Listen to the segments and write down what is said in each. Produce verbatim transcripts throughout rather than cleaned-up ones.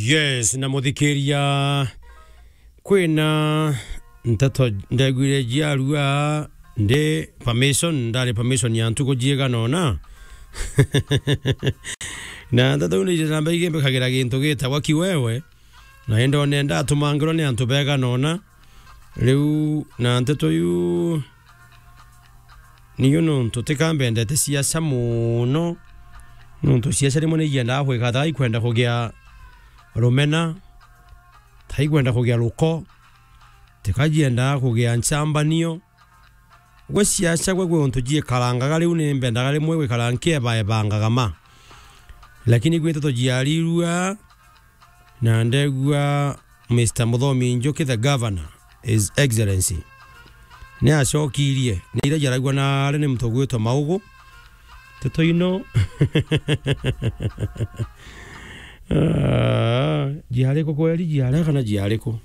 Yes, na muthikiria, kwina nteto ndegwire jiarua ndi permission, ndari permission ya ntuku jiigana ona. Na nteto iu ni iria namba igimbikagira gintu gitagwa kiwewe, na indone ndatumangirwa ni antu beegana ona. Riu na nteto iu, niu nontu tika mbendete siasa mono, nontu siasa rimwe ni iendaga kwika ta ikwenda kugia rumena, ta ikwenda kugia ruko, tika jiendaga kugia nchambanio. Gwe siasa gwe, gwe untu jiikarangaga, riu ni mbendaga rimwe gwikara nkiebaebangaga ma. Lakini gwi nteto jiarirua, na ndegua Mister Muthomi Njuki, the governor, His Excellency, ni acokirie ni iria jaragua naari ni muntu ugwitwa Maugu. Nteto ino. Ah, jiari ku kweri, jiari kana jiari ku?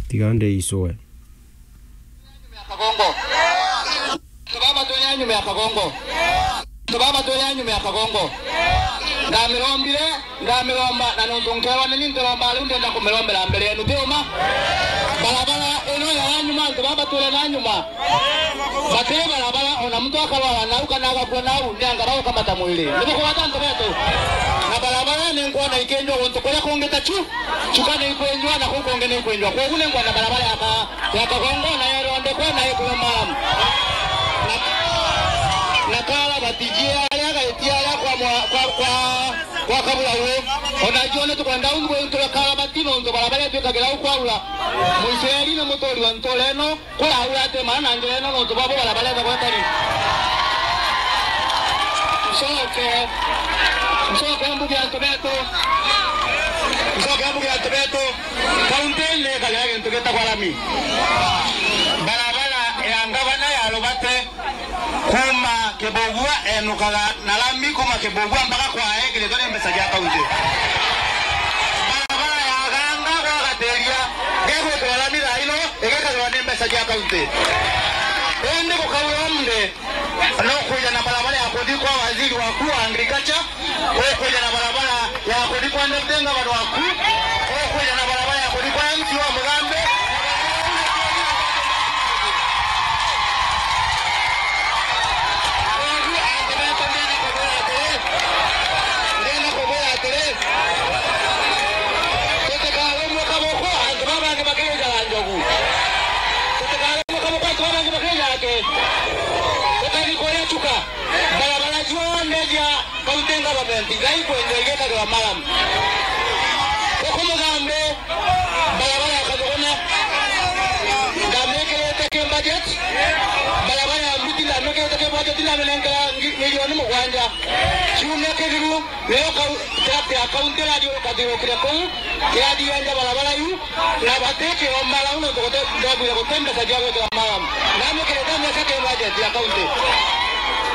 Tiga ndeicwe. Kagongo. Antu baba twina nyuma ya Kagongo. Antu baba twina nyuma ya Kagongo. Ndamirombire, ndamiromba, na nontu nkewa nini ntiromba, riu ndenda kumirombera mbere yenu, ti uma? Barabara ino ya nyuma, antu baba twina nyuma. Batiri barabara, ona muntu akarwara nau kana agakua nau, ni anga bagukamata mwiri. Ni bukugwata antu betu? Na barabara ni nkwona ikinjwa guntu kuria kungi ta chu, chuka ni ikwenjwa na kuu kungi ni ikwenjwa. Kwogu ni nkwenda barabara ya ka-, ya Kagongo na yerondekwe na ikue maram. Na, na karabati jia aria gaitia aria kwa mwa-, kwa, kwa, kwa kabura uu. Ona jio ni tukwenda ungu itwe karabati nontu barabara itwikagira u kwaura. Muisraeli ni muturi wa ntura ino. Kuraura ati maana njira ino nontu bwabo barabara ethagwa itari. Ncoke, ncoke mbuge antu betu. Ncoke mbuge antu betu. Kaunti ni ikagira gintu gitagwa rami. Barabara ya ngavana ya Rubate kuma Kibugua enukaga na rami kuma Kibugua mpaka kwa ekiritwe ni mbeca cia kaunti. Barabara ya Ganga gwa Gatiria gegwikirwa rami thaa ino igekagirwa ni mbeca cia kaunti. Indi gukaura mde, no kwija na barabara ya kuthi kwa waziri waku wa agriculture, ukwija na barabara ya kuthi kwa deputy governor waku, ukwija na barabara ya kuthi kwa M C wa Mugambe. Ugu antu betu ndenda kubwira atiri, ndenda kubwira atiri, tutikarumwe kaboko antu baba bangi bakirijaga njogu. Tutikarumwe kaboko antu baba bangi bakirijaga ki? Ukathi kuria Chuka. Barabara cionthe cia county government iria ikwenjwa igekagirwa maram. Guku Mugambe, barabara ya Kathugune, ndamikirite ki budget, barabara ya Mbuti ndamikirite ki budget, ndaminengera ngi-, milioni mugwanja. Kiumia kithiru, niyo kau-, tract ya county irathi ukathiurukire kuu, irathi yenja barabara iu, na bati kiomba rau nontu gute-, ndabwire guti mbeca cia gwikira maram. Ndamikirite mbeca ki budget ya county.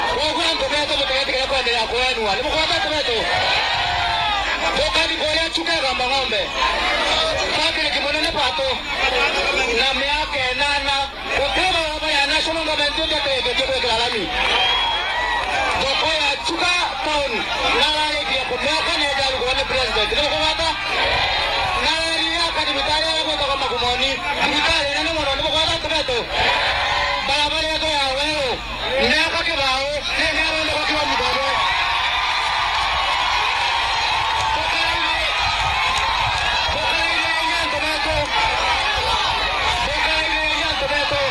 Kwoguo antu betu butigetigire kwenderea kwenua. Ni mugwata antu betu? Tukathi kuria Chuka Igamba Ng'ombe. Patrick Munene Pato. Na miaka inana. Guti barabara ya National Government itetethetie gwikira rami. Thoko ya Chuka town nararikirie kumiaka na ijarugwa ni president. Ni mukugwata? Nararire aka thibitari aria gwitagwa Magumoni. Thibitari inene mono. Ni mukugwata antu betu? Barabara yetu ya Weru. Miaka kibao, ningathondekwa kilomita imwe. Bukaraire, bukaraire inya antu betu. Bukaraire inya antu betu.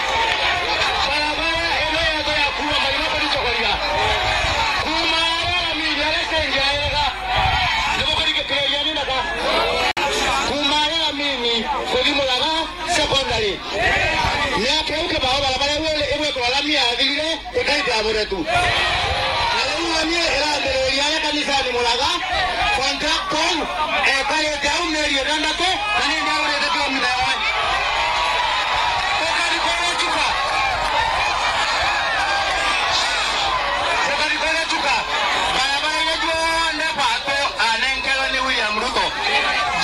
Barabara ino yetu ya kuuma Maina kuthi Chogoria. Kuuma aria Ramini, aria stage ya Ega. Ni bukurikiriria ni ndaka. Kuuma aria Ramini kuthi Muraga Secondary. Miaka iu kibao barabara iu igwikirwa rami yathirire, ikaita ya muretu. Na riu rami irambiriria aria kanisani Muraga, contractor ekarite au mieri itantatu, na ni ndiagurite kilomita imwe. Ukari kuria Chuka. Ukari kuria Chuka. Barabara iria cionthe Pato anenkerwe ni William Ruto.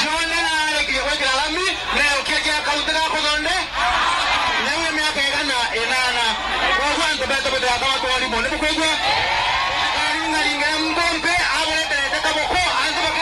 Cionthe narikirie gwikira rami, na ukiakia kaunti ga kuthonde, na iu ni miaka igana inana. Kwoguo antu betu bitigakorwa twarimo. Ni bukwigua? Karingaringa mbombe, abureterete kaboko, antu baki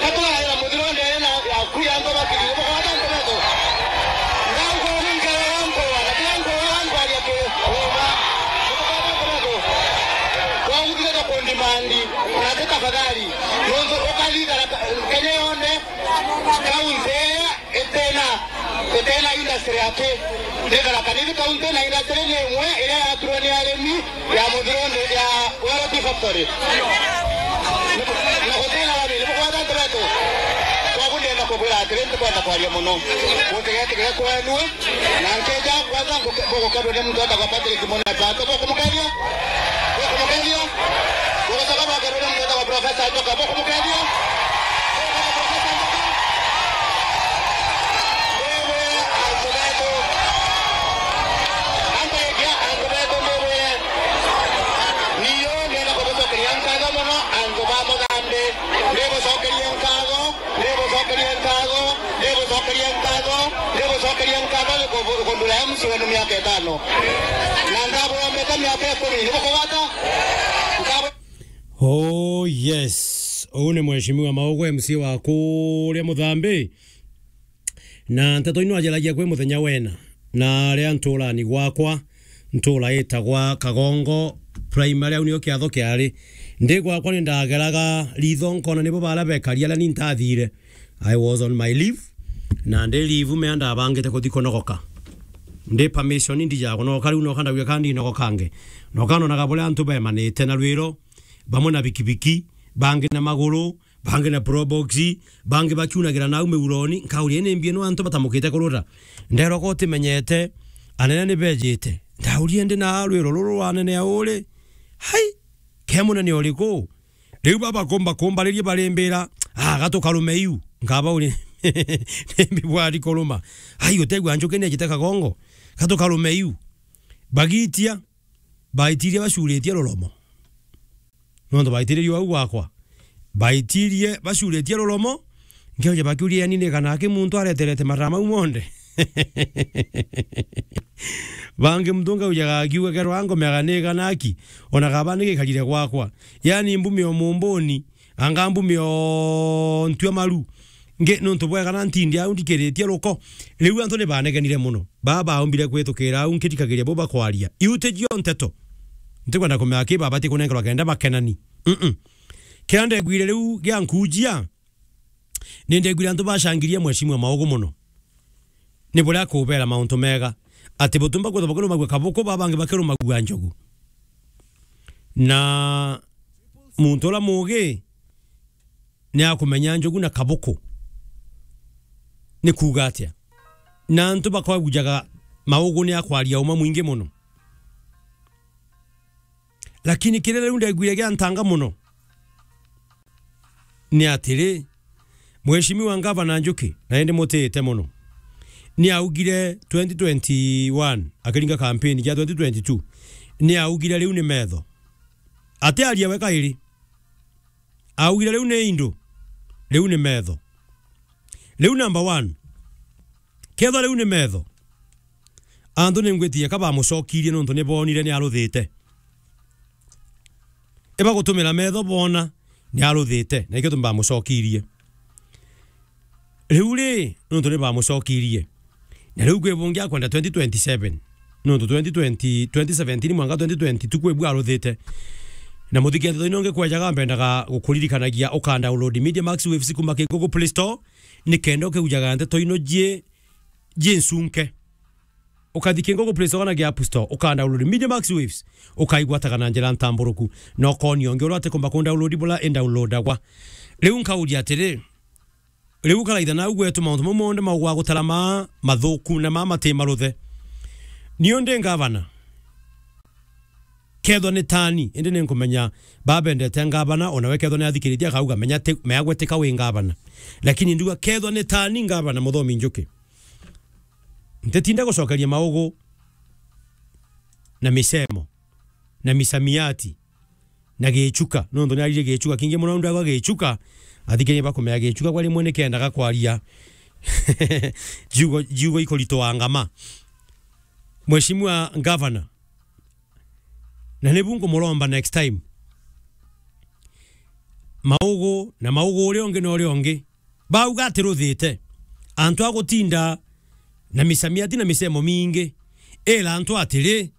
Katuraira muthiro ndere na yaku ya antu bakiri. Bukota antu betu. Ndauga ni nkero ya nkoa, na kila nkoa ya nkwaria kiri. Uma. Bukota antu betu. Kwa uthire kundimandi, na ti tafadhali. Nontu ukathithara Kenya yonde, kaunti ira itena, itena industry ati. Ndikara kanithi kaunti na industry ni imwe iria yaturwa ni arimi ya muthiro nde ya Weroti factory. Na gutena rami, ni bukwata antu betu. Kwagu ndenda kubwira atiri, ntikwenda kwaria muno. Gutigetigire kwenue, na nkeja kwanza nguke-, bugukethua ni muntu etagwa Patrick Muna Pato. Bukumukethia? Bukumukethia? Bugucoka bwakethua ni muntu etagwa Professor Njoka. Bukumukethia? Bukumukethia Professor Njoka? Wewe, antu betu. Antu betu, antu betu, ndibwire. Niyo ndenda kubucokeria nkatho muno, antu ba Muthambi. Ndibucokerie nkatho, ndibucokerie nkatho, ndibucokerie nkatho, ndibucokerie nkatho ni kubu-, kundura M C wenu miaka itano. Na ndaburombete miaka ikumi. Ni bukugwata? Nkabu- Oh, yes. Uu ni Mheshimiwa Maugu, M C wa kuria Muthambi. Na nteto ino ajaragia kwi muthenya wena, na aria nturani gwakwa, ntura itagwa Kagongo Primary, au nio kiatho kiari. Ndi gwakwa ni ndageraga ritho nkona nibo bara bekari aria ni ntathire. I was on my leave, na ndi leave mea ndabangite kuthi kunogoka. Ndi permission ndija kunogoka riu, noka ndauga ka ndinogokange. Noka nonaga buria antu bemanite na rwiro, bamwe na bikibiki, bangi na maguru, bangi na probox, bangi bakiunagira nau miuroni, nkauria, "Ni mbi ino antu batamukite kurura?" Nderwa, "Ko utimenyete, anene ni bejite." Ndauria, "Ndi na rwiro ruru rwa anene auri? Hai, ke munene uriku?" Riu baba kumba kumbariria barimbira, "Ah, gatukarume iu." Nkaba uri, "Ni mbi bwari kuruma? Ai, utegwa njuki ni ejite Kagongo? Gatukarume iu." Bagitia, baitirie bacuritie ruromo. Nontu baitiririe au gwakwa. Baitirie bacuritie ruromo, nkioja bakiuria, "Yani ni kana ki muntu areterete maraa mau monthe?" Bangi muntu ngaujaga akiuga, "Kerwa ngomeaga ni kana ki, ona kaba ni gikarire gwakwa. Yani mbumio mumbuni, anga mbumio ntua maru." Nge, nontu bwega na ntindi au ndikiritie ruko. Riu antu ni banegenire mono. Baa baumbire kwitukira au nkithikagiria bo bakwaria. Iu ti cio nteto. Ntikwenda kumenya ki babati kunenkerwa kenda bakenani. Mm-mm. Kiria ndegwire riu gia nkujia, ni ndegwire antu bacangirie Mheshimiwa Maugu mono. Ni buria akubera mauntu mega. Ati butumba kwithwa bakirumagua kabuku, baa bangi bakirumagua njogu. Na muntu uria muugi ni akumenya njogu na kabuku ni kuuga atia. Na antu bakwagujaga Maugu ni akwaria uma mwingi mono. Lakini kiria riu ndegwire gia ntanga mono ni atiri, Mheshimiwa Ngavana Njuki, na indi mutite mono, ni augire twenty twenty-one, akiringa campaign ya twenty twenty-two, ni augire riu ni metho. Atiaria we kairi. Augire, "Riu ni indu, riu ni metho." Riu number one, kethwa riu ni metho, antu ni ngwitiria ka bamucokirie nontu ni boonire ni aruthite. Ibagutumira metho boona ni aruthite, na ikio tumi bamucokirie. Riu ri, nontu ni bamucokirie. Na riu kwi bungi akwenda twenty twenty-seven. Nontu twenty twenty, twenty seventeen mwanka twenty twenty-two kwi bu aruthite. Na muthikiriria nongi kwejaga mbendaga gukuririkanagia uka download Media Max Waves kuma ki Google Play Store, ni kenda ukiujaga nteto ino jie, jie ncunke. Ukathi ki Google Play Store kana ki App Store, uka download Media Max Waves, ukaigwataga na njira ntamburuku. Na ukonia ungi uria atikumba ku download bula i downloadagwa. Riu nkauria atiri, riu karaitha nau gwetu mauntu mau monthe maugwa gutarama mathuku na ma mati maruthe. Niu ndi ngavana. Kethwa ni tani, indi ni nkumenya babendete ngavana, ona we kethwa ni athikiritie akauga, "Menya ti, mea gwetika wi ngavana." Lakini nduga kethwa ni tani ngavana Muthomi Njuki, ntitinda gucokeria Maugu na misemo, na misamiati, na gichuka. Nontu ni arire gichuka kingi mono, ndagwa gichuka, athikiririe bakumenya gichuka kwa rimwe ni kendaga kwaria ciugo, ciugo ikurituanga ma. Mheshimiwa Governor, na nibu nkumuromba next time. maugu na maugu uria ungi na uria ungi. Bauga ati ruthite. Antu a gutinda na misamiati na misemo mingi. Ira antu atiri,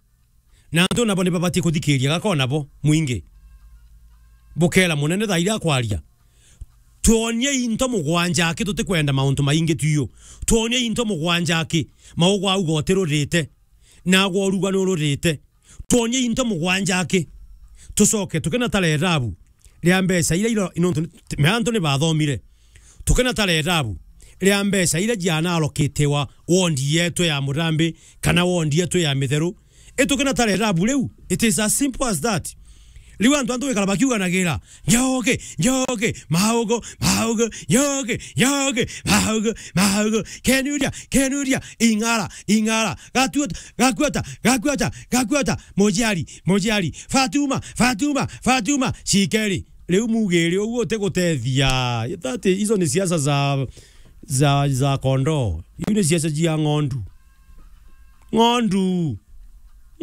na antu nabo ni babatie kuthikiria gakona bo mwingi. Bukera munene thaa iria akwaria. Twonie into mugwanja aki tutikwenda mauntu maingi tuyu. Twonie into mugwanja aki maugu auga uti rurite. Nagwa uruga ni ururite. Twonie into mugwanja aki. Tucoke tukina ta rerabu ria mbeca iria iro-, nontu ni, me antu ni bathomire. Tukina ta rerabu ria mbeca iria jianarokitewa wondi yetu ya Murambi kana wondi yetu ya Mitheru. I tukina ta rerabu riu. It is as simple as that. Riu antu, antu gwikara bakiuganagira, "Njoke, njoke, maugu, maugu, njoke, njoke, maugu, maugu, kenuria, kenuria, ing'ara, ing'ara, gatuota, gakuota, gakuota, gakuota, mujiari, mujiari, Fatuma, Fatuma, Fatuma, cikeri." Riu mugiri uguo utigutethia. That, izo ni siasa za, za, za kondoo. Iu ni siasa cia ng'ondu. Ng'ondu.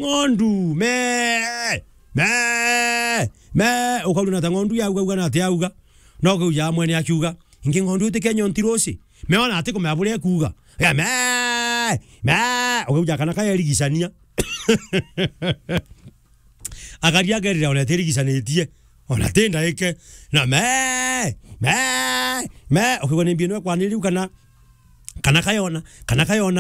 Ng'ondu. Me. Me. Me. Ukaurana ta ng'ondu yauga, uga na ati yauga. No ukaujaa mwene akiuga, "Ingi ng'ondu iti Kenya ontirosi." Me ona ati kumea buria ekuuga. Ya me. Me. Ukauja kana kayerigicania. Akaria akerira ona tirigicanitie. Ona ti ndaike. Na me. Me. Me. Ukigwa ni mbio nwe kwani riu kana, kana kayona, kana kayona.